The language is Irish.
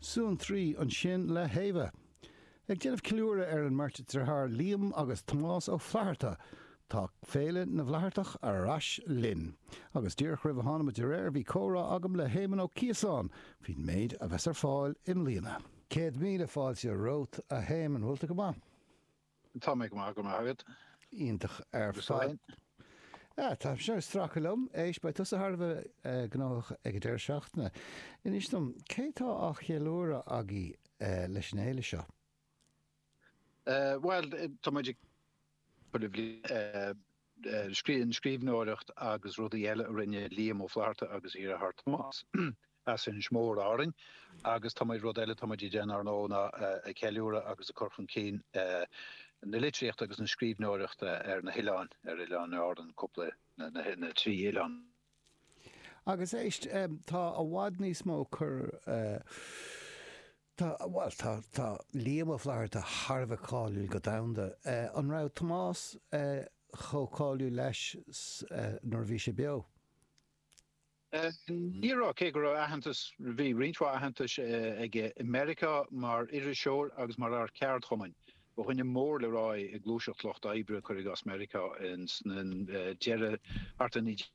Suantraí ansin le hÉabha. Ag déanamh ceiliúradh ar an mbeirt deartháir Liam agus Tomás Ó Flatharta, tá Féile na bhFlaitheartach ar ais linn. Agus díreach roimh a tháinig muid ar aer bhí comhrá agam le hÉamonn Ó Ciosáin faoin méid a bheas ar fáil i mbliana. 100,000 fáilte romhat a Éamoinn, bhfuil tú go maith? Tá mé go maith, go raibh maith agat. Iontach ar fad. Ah, tá seo ag stracadh liom. Éist, beidh tusa thar a bheith gnóthach ag an deireadh seachtaine. Inis dom, cé tá á cheiliúradh agaibh leis an fhéile seo? Bhuel, tá muid ag an scríbhneoireacht agus rudaí eile a rinne Liam Ó Flaithearta agus a dheartháir Tomás as Inis Mór, Árainn. Agus tá muid, rud eile atá muid ag déanamh ar ndóigh ná ag ceiliúradh agus ag cur chun cinn na litríochta agus na scríbhneoireachta ar na hoileáin, ar oileáin Árann, cúpla, na trí oileán. Agus éist, tá i bhfad níos mó cur, tá, bhuel, tá, tá Liam Ó Flaithearta thar a bheith cáiliúil go domhanda. An raibh Tomás chomh cáiliúil leis nuair a bhí sé beo? Ní raibh, cé go raibh aitheantas, bhí roinnt mhaith aitheantais aige i Meiriceá mar iriseoir agus mar fhear ceardchumainn. Ba dhuine mór le rá é i ngluaiseacht lucht oibre, cuir i gcás Meiriceá, ins na deireadh thart ar 1919.